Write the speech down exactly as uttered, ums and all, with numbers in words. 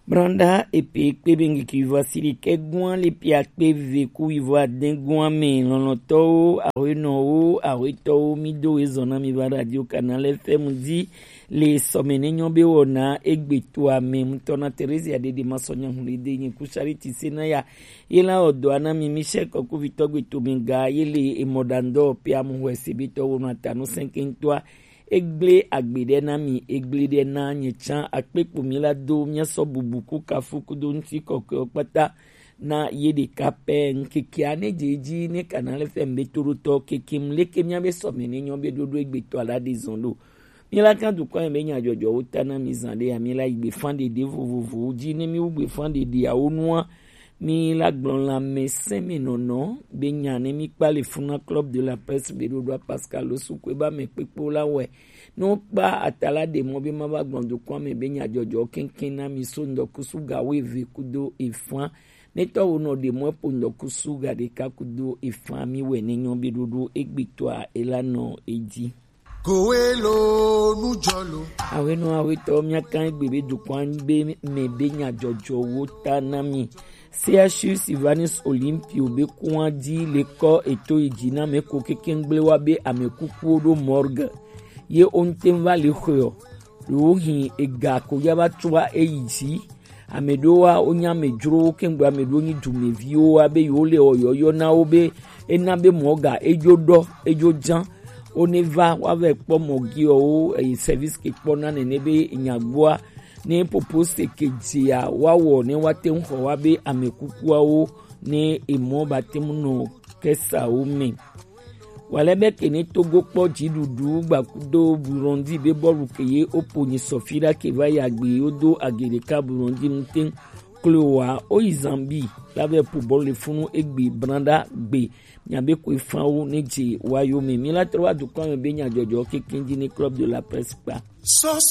Branda epe kpe be ŋgiki wivo asi ɖekɛ gún ale pe akpe ve ku wivo adɛn gún ame lɔlɔ̃tɔwo, ahoenɔwo, ahoetɔwo, mi do wezɔn na mi va Radio Canal F M dzi le sɔme ne nyɔ be wɔna egbe to ame ŋutɔ na Theresia Dede Masɔnya Hlide nyi ku Charity Senaya ye la wɔ dɔ na mi Michel Kɔkuvitɔ gbe to mi ga ye le emɔɖandɔ pe amuhɔe se be tɔ wo nɔ atanu sɛnkɛntɔa. Egblẽ agbe ɖe na mi, egblẽ ɖe na nye tsã. Akpe kpo mi la do míasɔ bubu ku kafu kudo ŋuti kɔkɔewo kpata na ye ɖeka pɛ. Ŋkekea ne dze edzi ne Canal F M be toɖotɔ kekem leke míabe sɔme ne nyɔ be ɖoɖo egbetɔ la ɖe zɔn ɖo. Míla kan dukɔ be nyadzɔdzɔwo ta na mi zã ɖe ya míla yi gbefã ɖeɖe vovovowo dzi ne míwu gbefã ɖeɖeawo nua. Mi la gblɔ lãmesẽmenɔnɔ be nya ne mi kpa le funa Club de la Presse be ɖoɖoa Pascal Osukue ba me kpekpewo la wɔe. Ne wokpa ata la ɖe mɔ be ma va gblɔ dukɔa me be nyadzɔdzɔ keŋkeŋ na mi so ŋdɔkusu ga wuieve kudo efã. Ne tɔwo nɔ ɖe mɔ eƒo ŋdɔkusu ga ɖeka kudo efã mi wɔe ne nyɔ be ɖoɖo egbetɔa ela nɔ edzi. Koe lo nu jɔ lo. Awenɔ awetɔ míaka egbe be dukɔa be me be nyadzɔdzɔwo ta na mi. C H U Sylvanus Olympio be kua dzi le kɔ eto yi dzi na me ko kekeŋgble wa be ame kukuwo ɖo morgue. Ye o ŋte va le xɔe o. Ɖewo hin ega ko ya va tsua eyi dzi. Ame ɖewoa wonye amedzrowo keŋgbe ame ɖewo nyi dumeviwo wa be yewo le ɔyɔyɔ na wo be ena be mɔ ga edzo ɖɔ edzo dzã. Wone va woava kpɔ mɔ giɔwo eye service ke kpɔna nene be nyagboa ne popo se ke dzia woawɔ ne woate ŋu xɔ wa be ame kukuawo ne emɔ bate ŋu nɔ kesawo me. Wale be ke ne Togo kpɔ dziɖuɖu gbakudo Burundi be bɔlu ke ye opo nyi sɔfi ɖa ke va yi agbe yo do age ɖeka Burundi ŋute kloa oyi Zambi la vɛ po bɔlu le funu egbe branda gbe. Miabe koe fãwo ne dze wa yo me. Mi la trɔ wa dukɔ me be nyadzɔdzɔ kekeŋ dzi ne Club de la Presse kpa. Sɔ